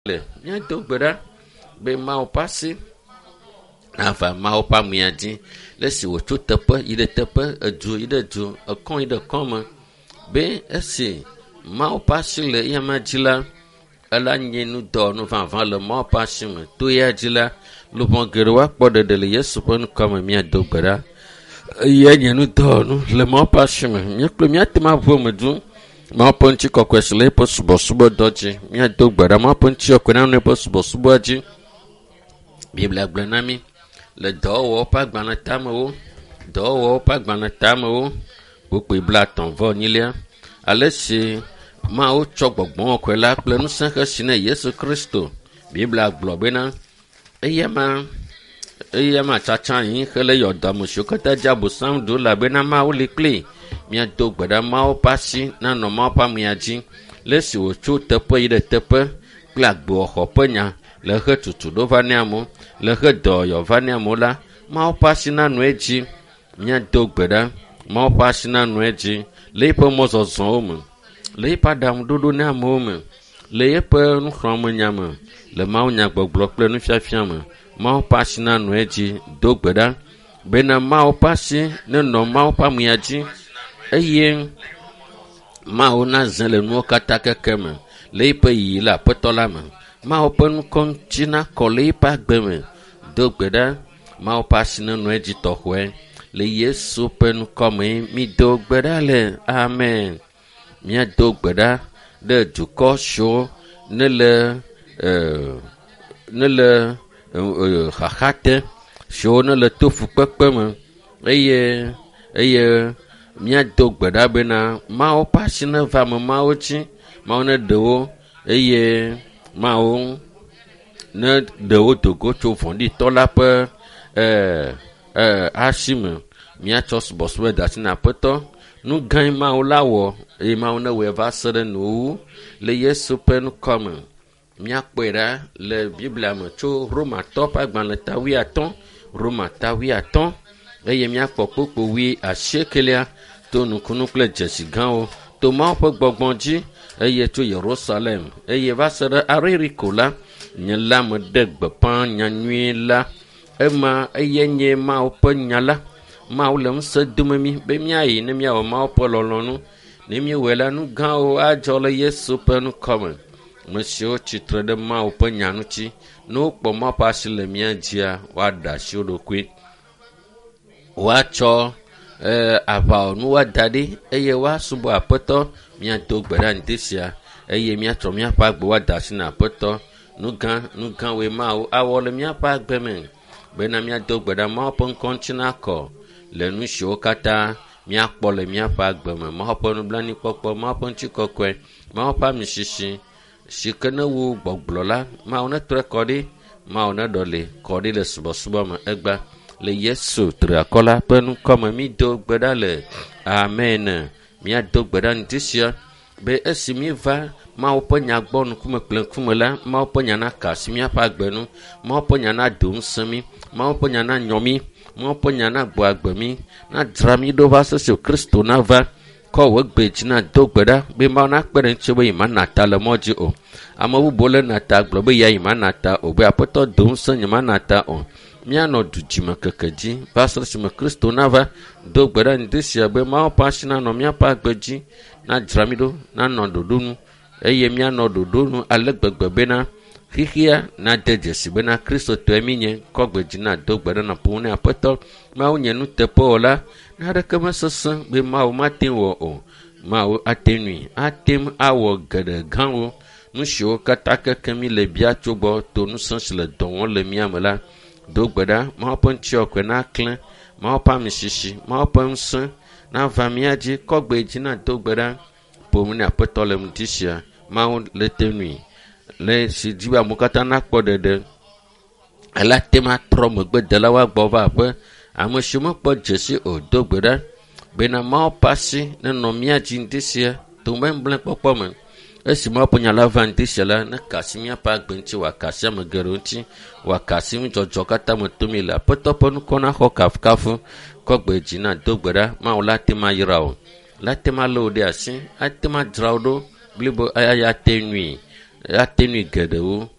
Le míado gbe ɖa be Mawu ƒe asi nava Mawu ƒe amea dzi le esi wòtso teƒe yi ɖe teƒe, edu yi ɖe du, ekɔ yi ɖe kɔ me be esi Mawu ƒe asi le eyama dzi la, ela nye nudɔwɔnu vavã le Mawu ƒe asi me. To eya dzi la, luʋɔ geɖewo akpɔ ɖeɖe le Yesu ƒe ŋkɔ me míado gbe ɖa. Eyae nye nudɔwɔnu le Mawu ƒe asi me. Míekple míate ŋu aʋu eme dũ. Mawu ƒe ŋutikɔkɔe si le eƒe subɔsubɔdɔ dzi. Míado gbe ɖa Mawu ƒe ŋutikɔkɔe nanɔ eƒe subɔsubɔa dzi. Biblia gblɔ na mí le dɔwɔwɔwo ƒe agbalẽ tamewo, dɔwɔwɔwo ƒe agbalẽ tamewo, kpukpui blaetɔ̃ vɔ enyilia, ale si Mawu tsɔ gbɔgbɔ kɔkɔe la kple ŋusẽ hesi na Yesu Kristo. Biblia gblɔ bena eyama eyama tsatsa anyi hele yɔdo ame siwo katã dze abosam ɖu elabena Mawu li kplii. Míado gbe ɖa Mawu ƒe asi nanɔ Mawu ƒe amea dzi le esi wòtso teƒe yi ɖe teƒe kple agbewɔxɔ ƒe nya le eƒe tutuɖo va nɛ amewo, le eƒe dɔyɔyɔ va nɛ amewo la, Mawu ƒe asi nanɔ edzi. Míado gbe ɖa Mawu ƒe asi nanɔ edzi le eƒe mɔzɔzɔwo me, le eƒe aɖaŋuɖoɖo na amewo me, le eƒe nuxlɔ̃amenya me, le mawunyagbɔgblɔ kple nufiafia me. Mawu ƒe asi nanɔ edzi. Do gbe ɖa bena Mawu ƒe asi nenɔ Mawu ƒe amea dzi eye Mawu nazẽ le nuwo katã keke me le eƒe yiyi le Aƒetɔ la me. Mawu ƒe ŋkɔ ŋuti nakɔ le eƒe agbe me. Do gbe ɖa Mawu ƒe asi nenɔ edzi tɔxɔe. Le Yesu ƒe ŋkɔ me mído gbe ɖa le. Amen. Míado gbe ɖa ɖe dukɔ siwo nele nele xaxa te, siwo nele to fukpekpe me eye eye míado gbe ɖa bena Mawu ƒe asi neva ame mawo dzi, Mawu neɖe wo eye Mawu neɖe wo do go tso vɔ̃ɖitɔ la ƒe asi me. Míatsɔ subɔsubɔ de asi na Aƒetɔ. Nu gãe Mawu la wɔ eye Mawu newɔe va se ɖe nuwuwu le Yesu ƒe ŋkɔ me. Míakpɔe ɖa le Biblia me tso Romatɔ ƒe agbalẽ ta wuiatɔ̃, Roma ta wuiatɔ̃ eye míakpɔ kpukpui wui asiekelia to nukunu kple dzesi gãwo to Mawu ƒe gbɔgbɔ dzi eye tso Yerusalem eye va se ɖe Aririko la, nye la meɖe gbeƒã nyanyui la. Ema eye nye Mawu ƒe nya la. Mawu le ŋusẽ dome mí be míayi ne míawɔ Mawu ƒe lɔlɔ̃nu. Ne míewɔe la, nu gãwo adzɔ le Yesu ƒe ŋkɔ me. Ame siwo tsitre ɖe Mawu ƒe nya ŋuti, ne wokpɔ Mawu ƒe asi le mía dzia, woaɖe asi wo ɖokui. Woatsɔ aʋawɔnu woada ɖi eye woasubɔ Aƒetɔ. Míado gbe ɖa ŋdi sia eye míatsɔ míaƒe agbe woada asi na Aƒetɔ. Nu gã, nu gãwoe Mawu awɔ le míaƒe agbe me bena míado gbe ɖa Mawu ƒe ŋkɔ ŋuti nakɔ le nu siwo katã míakpɔ le míaƒe agbe me. Mawu ƒe nublanuikpɔkpɔ, Mawu ƒe ŋutikɔkɔe, Mawu ƒe amisisi si ke ne wu gbɔgblɔ la, Mawu netrɔe kɔ ɖi, Mawu neɖɔli kɔ ɖi le subɔsubɔ me egbea. Le Yesu triakɔ la ƒe ŋkɔ me mído gbe ɖa le. Amen. Míado gbe ɖa ŋdi sia be esi míeva Mawu ƒe nya gbɔ ŋkume kple ŋkume la, Mawu ƒe nya naka asi míaƒe agbe nu, Mawu ƒe nya nado ŋusẽ mí, Mawu ƒe nya nanyɔ mí, Mawu ƒe nya nagbɔ agbe mí, nadzra mí ɖo va se esi Kristo nava. Kɔ wò gbe dzi nado gbe ɖa be Mawu nakpe ɖe ŋuti be yemana ta le mɔ dzi o. Ame bubuwo le na ta gblɔ be ya yemana ta o be Aƒetɔ do ŋusẽ nyemana ta o. Míanɔ du dzime keke dzi va se esime Kristo nava. Do gbe ɖa ŋdi sia be Mawu ƒe asi nanɔ míaƒe agbe dzi, nadzra mí ɖo, nanɔ ɖoɖo nu eye míanɔ ɖoɖo nu ale gbegbe bena xixia nade dzesi bena Kristotɔe míenye. Kɔ gbe dzi nado gbe ɖa nàƒo nu ne Aƒetɔ. Mawu nye nuteƒewɔla. Naneke mesesẽ be Mawu mate ŋu wɔ o. Mawu ate ŋui, ate ŋu awɔ geɖe gãwo. Nu siwo katã keke mí le bia tso gbɔ to ŋusẽ si le dɔ wɔm le mía me la, do gbe ɖa Mawu ƒe ŋutikɔkɔe naklẽ, Mawu ƒe amisisi, Mawu ƒe ŋusẽ nava mía dzi. Kɔ gbe dzi nado gbe ɖa. Ƒo nu ne Aƒetɔ le ŋdi sia. Mawu le te ŋui le si dzi be amewo katã nakpɔ ɖeɖe. Ele ate ŋu atrɔ megbedelawo agbɔ va aƒe. Ame siwo mekpɔ dzesi o do gbe ɖa bena Mawu ƒe asi nenɔ mía dzi ŋdi sia to memblɛkpɔkpɔ me. Esi Mawu ƒe nya la va ŋdi sia la, neka asi míaƒe agbe ŋuti, wòaka asi ame geɖewo ŋuti, wòaka asi nudzɔdzɔ katã me tom le. Aƒetɔ ƒe ŋkɔ naxɔ kafukafu. Kɔ gbe dzi nado gbe ɖa. Mawu la ate ŋu ayra wò, la ate ŋu alé wò ɖe asi, ate ŋu adzra wò ɖo blibo eye ate ŋui, ate ŋui geɖewo.